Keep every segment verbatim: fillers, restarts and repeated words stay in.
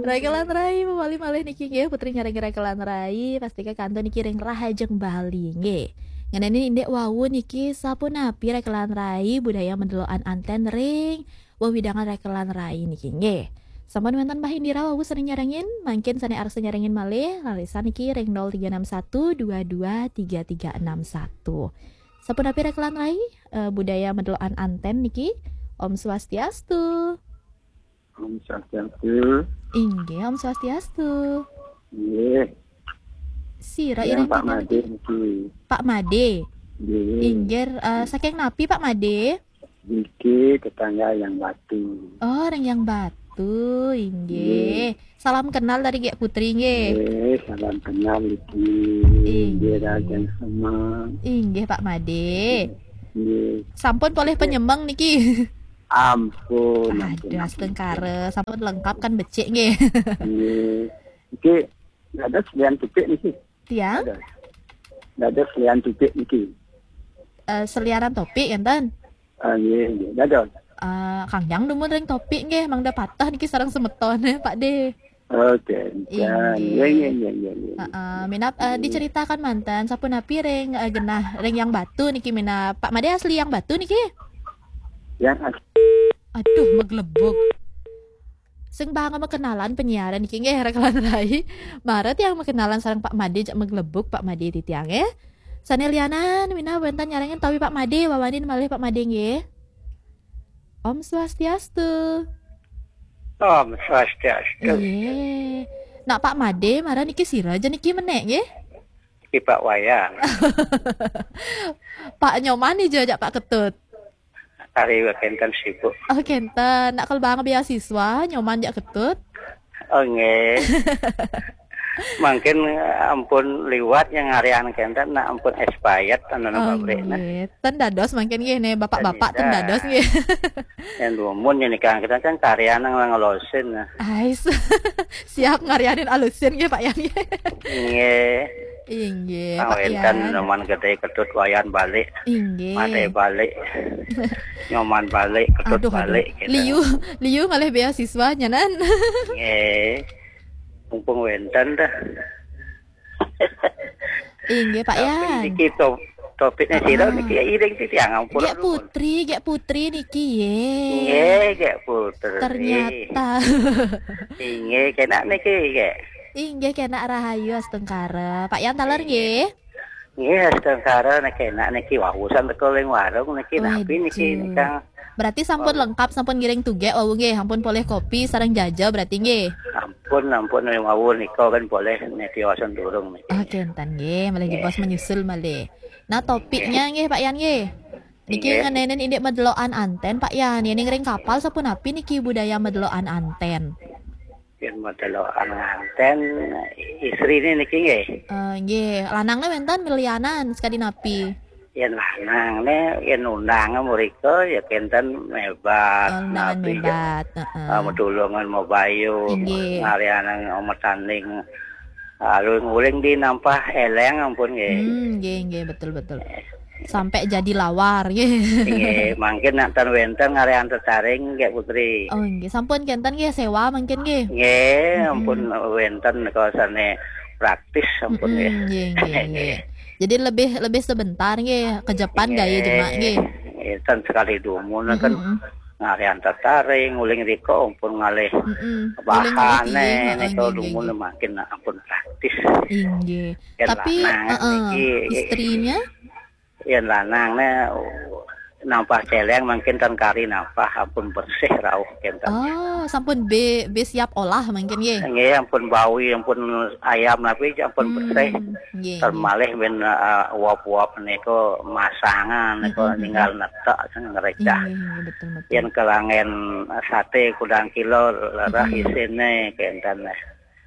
Rakelan Rai, mawali malih niki nggih, Putri nyarengin Rakelan Rai, pastika kantun niki ring Rahajeng Bali nggih. Ngeninin indik wau niki, sapunapi Rakelan Rai budaya madelokan anten ring wewidangan Rakelan Rai niki nggih. Sampun wénten Mbah Indira wau sané nyarengin, mangkin sané arsa nyarengin malih, rarisang niki ring nol tiga enam satu dua dua tiga tiga enam satu. Sapunapi Rakelan Rai, eh, budaya madelokan anten niki? Om Swastiastu. Om Swastiastu. Inggih, Om Swastiastu. Nggih. Sira Yang iring Pak tigang Made niki. Pak Made. Nggih. Inggih, eh, saking napi Pak Made? Niki tetangga Yang Batu. Oh, ring Yang Batu, inggih. Nggih. Salam kenal dari Gék Putri nggih. Nggih, salam kenal niki. Inggih. Nggih, Raden Semang. Inggih, Pak Made. Nggih. Sampun polih penyemeng niki. Ampun, ampun, ampun. Aduh, astungkara, sampun lengkap kan becik nggih. Nggih. Niki dados selian topik niki. Tiang? Dados. Dados selian topik niki. Eh, seliaran topik enten? Ah, nggih, nggih. Dados. Ah, Kang Yang dumun ring topik nggih, mangda pateh niki sareng semeton, Pak De. Oke. Inggih. Nggih, nggih, nggih, nggih, nggih. Heeh, minab, eh, nggih. Diceritakan manten, sapunapi ring, eh, genah ring Yang Batu niki minab. Pak Made asli Yang Batu niki? Yang asli. Aduh, maglebug. Sing banga makenalan penyiaran niki nggih, Rakelan Rai. Mara tiang makenalan sareng Pak Made jak maglebug, Pak Made titiang nggih. Sané lianan, minab wénten nyarengin tawi Pak Made, wawanin malih Pak Made nggih. Om Swastiastu. Om Swastiastu. Iya. Nak Pak Made, mara niki sira ja niki menék nggih? Niki Pak Wayan. Pak Nyoman nih jak Pak Ketut. Ari kenten sibuk. Oh, kenten. Nak kalau bang beasiswa, Nyoman jak Ketut. Oh, nggih. Mangkin, eh, ampun liwat yang ngarian kenten, nak ampun expired, anu, oh, pabrik, nah. Nggih. Ten dados mangkin nggih, nih, bapak-bapak ten dados nggih. Yang dumun yang nikah kita kan karya nang ngelosin, nah. Ais. Siap ngarianin alusin nggih, Pak Yan nggih. Nggih. Inggih, Pak Yan. Numan Gedé Ketut Wayan balik. Inggih. Made balik. Nyoman balik, Ketut balik, gitu. Liu, liu ngalih beasiswa nyanan. Nggih. Mumpung wénten dah. Inggih, Pak Yan. Tapi niki to-, topiknya sira niki ya iring titiang ampun. Gék Putri, Gék Putri niki, yé. Nggih, Gék Putri. Ternyata. Inggih, kenak niki, Gék. Inggih, kenak rahayu astungkara. Pak Yan taler nggih. Nggih, astungkara nek kenak niki wau san teka ling warung niki napi niki. Waduh. Nikang. Berarti sampun lengkap, sampun ngiring tugék wau nggih, sampun polih kopi sareng jaja berarti nggih. Ampun, ampun, wau nika kan polih nek tiosan durung niki. Oh, kenten nggih, malih jebos menyusul malih. Nah, topiknya nggih, Pak Yan nggih. Niki ngenénin indik madelokan anten, Pak Yan. Yén ring kapal sapunapi niki budaya madelokan anten? Yén madelokan anten, istrine niki nggih. Eh, nggih, lanangne wénten melianan sakadi napi? Yén lanangne, yén undange mrika ya kenten mebat, oh, undangan napi ya, mebat, heeh. Eh, medulungan mabayu, inggih. Ngarianang matanding, alun nguling di nampah eleng ampun nggih. Hmm, nggih, nggih, betul, betul. Sampai jadi lawar nggih. Nggih, mangkin nak ten wénten ngarian tetaring nggih, Putri. Oh, nggih, sampun kenten nggih sewa mangkin nggih. Nggih, mm-mm. Ampun wénten kosane praktis sampun nggih. Mm-mm, nggih, nggih, nggih. Jadi lebih, lebih sebentar nggih, kejepan nggih, gaya jemak nggih. Nggih, ten sekali dumun kan. Mm-mm. Ngarian tetaring, nguling rika ampun ngalih, mm-mm, nguling ngalih bahane, iya, heeh, nika nggih, nggih, dumun nggih. Mangkin ampun praktis. Inggih. Yén tapi, lanang heeh, niki, istrinya? Yén lanangne nampah celeng mangkin ten kari nampah ampun bersih rauh kenten. Oh, sampun be, be siap olah mangkin nggih. Nggih, ampun bawi, ampun ayam napi ampun bersih. Hmm, nggih, nggih. Ten malih men, eh, uap-uap nika masangan nika, mm-mm, ninggal netek sing ngrecah. Nggih, nggih, betul, betul. Yén kelangen sate kudang kilo lerah, mm-mm, isine kenten.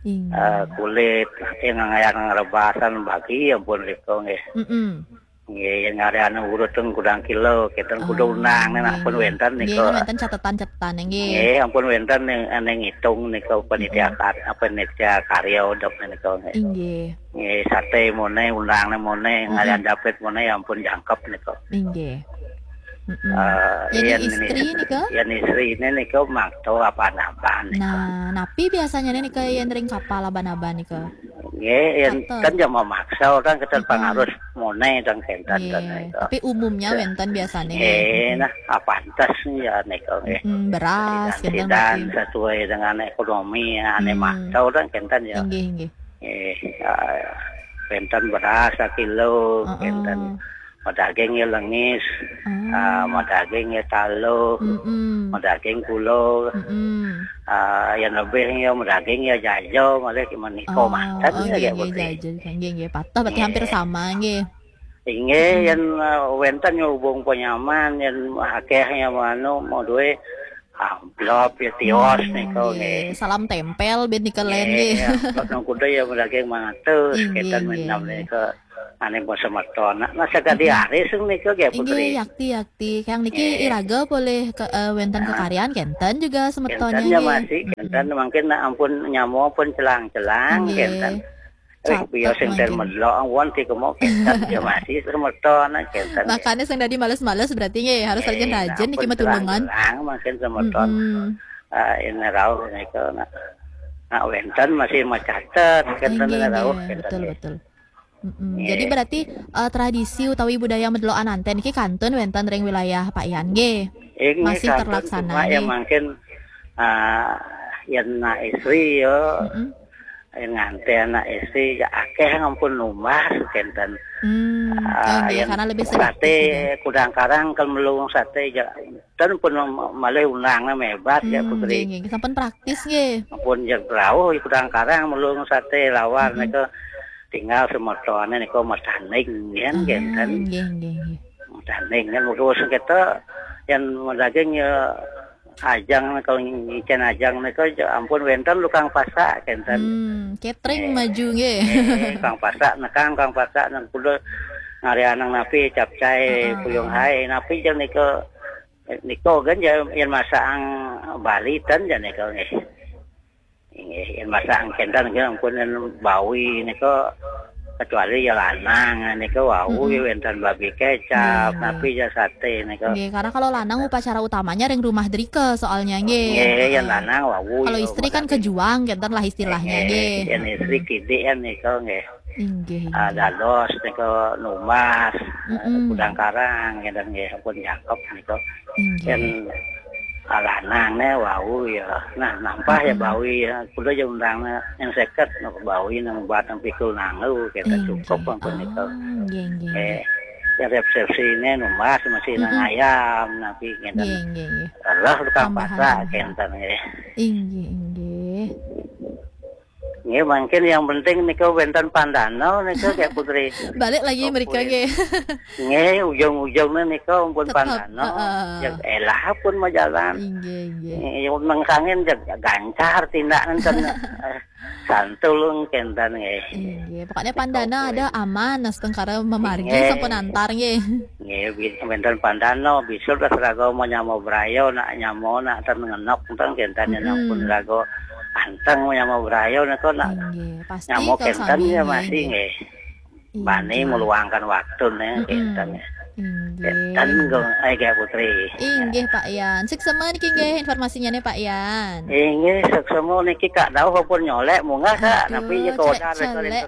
Inggih. Eh, kulit, yang ngayan ngrebasan bagi ampun rika nggih. Mm-mm. Nggih, yang ngarian urut ten kudang kilo, kenten kudu unang, oh, nggih, ampun nggih. Wénten nika. Nggih, wénten catetan-catetan nggih. Nggih, ampun wénten ning, ning ngitung nika panitia, mm-mm, kar-, panitia karya udep nika nggih. Inggih. Nggih, sate mone, undangne mone, mm-mm, ngarian dapet mone ampun jangkep nika. Inggih. Mm-mm. Eh, Yén yen istri nika? Yén istrine nika maksa apan-apan nika. Nah, napi biasanya nika yén ring kapal aban-aban nika? Nggih, yén ten ya memaksa orang kita pangarus monai dan kenten. Nggih, nika. Tapi umumnya wénten biasanya nggih. Nggih, nah, apantes ya nika nggih. Mm, beras, kenten. Sidan berarti sesuai dengan ekonomi ya, ane maksa orang kenten ya. Nggih, nggih. Nggih, ya, kenten beras sakilo, kenten. Madaging ya lengis, ah, madaging ya taluh, madaging kulo, ah, ya lebih ya madaging ya jajo, malih menika manten ya nggih, nggih, jajo. Nggih, nggih, patah berarti hampir sama nggih. Inggih, yen, eh, wénten ya hubung penyaman, yen akeh ya anu mau duwe amplop ya tios nika nggih. Salam tempel ben nika len nggih. Nggih, amplop nang kuda ya madaging mangatus, kenten nggih, minam nggih. Nika. Ane basa mertona. Nah, sagadi aris nika nggih, Putri. Inggih, yakti, yakti. Kang niki iraga polih ke, eh, wénten kekaryan kenten juga semertona nggih. Kenten ya masih, kenten mangkin nak ampun nyamo pun celang-celang kenten. Eh, biasa sing ten medlok won ti kemo kenten ya masih semertona kenten. Makanya sing dadi males-males berarti nggih harus rajin-rajin niki ampun matulungan. Celang-celang mangkin semerton. Ah, ini rauh nika nak, nak wénten masih macatet kenten rauh kenten. Betul, betul. Mm-mm. Jadi berarti, eh, tradisi utawi budaya medlokan anten niki kantun wénten ring wilayah Pak Yan nggih. Inggih, masih kantun terlaksana cuma ya nggih. Mangkin, ah, yen nak istri ya, yen nganten nak istri ya akeh ngampun numbas kenten. Hmm, ah, nggih, yen karena lebih sedikit sate gitu. Kudang karang kan melung sate ya, dan pun malih undangan hebat ya, hmm, Putri. Nggih, nggih. Sampun praktis nggih. Ampun ya rauh kudang karang melung sate lawar nika. Tinggal semertone nika matanding yen kenten. Nggih, nggih, nggih. Matanding kan terus kita yang daging ya ajang nika ngicen ajang nika ya ampun wénten tukang pasak kenten. Hmm, catering maju nggih. Eh, tukang pasak nekang tukang pasak nang kuda ngari anang napi capcay puyung hai napi jeng nika nika kan ya yen masakan Bali ten ya nika nggih. Inggih, yen masak kenten nggih ampun yen bawi nika kecuali ya lanang nika wau ya wénten babi kecap, tapi ya sate nika. Nggih, karena kalau lanang upacara utamanya ring rumah drika soalnya nggih. Nggih, yen lanang wau. Kalau ya istri kan masak kejuang kenten lah istilahnya nggih. Yen istri kidik kan nika nggih. Inggih, ah, inggih. Dados nika numbas, kudang karang kenten nggih ampun cakep nika. Inggih. Yen alanang ne wau ya. Nah, nampah ya bawi ya. Kuda ya undang yang seket no bawi nang buat nang pikul nangu kita cukup ampun itu. Nggih, nggih. Eh, ya resepsi ini numbas masih nang ayam napi kenten. Nggih, nggih, nggih. Lah tukang pasak kenten nggih. Inggih, inggih. Nggih, mungkin yang penting nika wénten pandana nika nggih Putri. Balik lagi mereka nggih. Nggih, ujung-ujungnya nika ampun pandana. Ya elah pun majalan. Inggih, inggih. Nggih, nang sangin ya gancar tindakan ten. Eh, santul kenten nggih. Inggih, pokoknya pandana ada aman, astungkara mamargi sampun antar nggih. Nggih, wénten pandana bisul dah raga mau nyamo brayo nak nyamo nak ten ngenok ten kenten ampun raga anteng nyamo brayo nika nak. Inggih, pasti nyamo kenten ya masih nggih. Bani meluangkan waktu nih kenten. Inggih. Kenten gong ai Putri. Inggih Pak Yan. Suksema niki nggih informasinya nih Pak Yan. Inggih, suksema niki Kak Dauh pun nyolek munggah Kak. Tapi ya kau dah rekoring.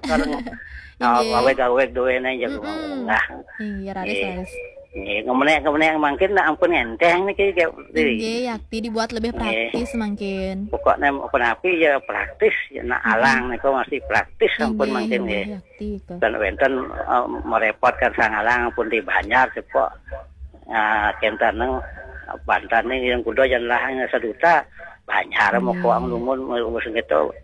Inggih. Aweg-aweg duwe nih jago munggah. Inggih, raris, raris. Nggih, ngemenek-ngemenek mangkin nak ampun enteng niki nggih. Inggih, yakti dibuat lebih praktis mangkin. Pokoknya apa napi ya praktis ya nak alang niku masih praktis ampun mangkin nggih. Yakti itu. Dan wénten eh, merepotkan sangalang pun di Banjar cepok. Ah, kenten nang bantan nih yang kuda jan lahang seduta Banjar mau kuang lumun mau gitu.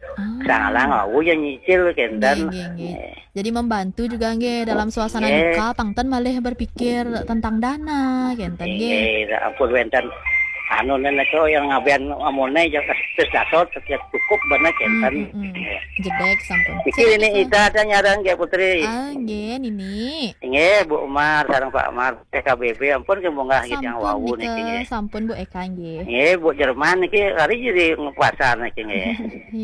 Sangalang wau ya nyicil kenten. Nggih, nggih, nggih. Jadi membantu juga nggih dalam suasana duka, pang ten malih berpikir tentang dana, kenten nggih. Nggih, ampun wénten. Anu, nenek tuh yang ngabian amone, yang terus dasar setiap cukup bener kenten. Jedek sampun. Iki ini Ida ada nyarang ya, Putri. Ah, nggih, Nini. Nggih, Bu Umar sareng Pak Umar, T K B B, ampun, nggih, munggah gitu yang Sampun wau niki. Nika, sampun Bu Eka nggih. Nggih, Bu Jerman niki hari jadi pasar niki nggih.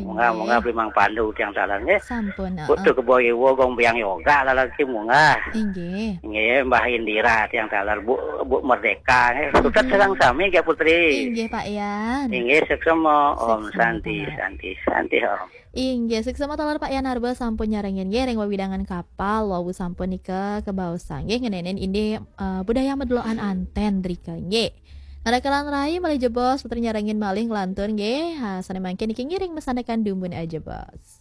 Munggah-munggah beli Mang Pandu tiang talar nggih. Sampun. Bu tuh keboy wo gong biang yoga lalar ki munggah. Inggih. Nggih, Mbah Indira tiang talar, Bu, Bu Merdeka nggih. Sutet sareng sami nggih, Putri. Inggih Pak Yan. Inggih, suksma, Om. Suksma, Santi, Pak. Santi, Santi, Om. Inggih, suksma talar Pak Yan Arba sampun nyarengin nggih ring wewidangan kapal, wau sampun nika kebaosan nggih ngeninin indik eh, budaya medelokan anten drika nggih. Narakelan rai malih jebos Putri nyarengin malih ngelantur nggih. Ha, sane mangkin niki ngiring mesanekan dumun aja bos.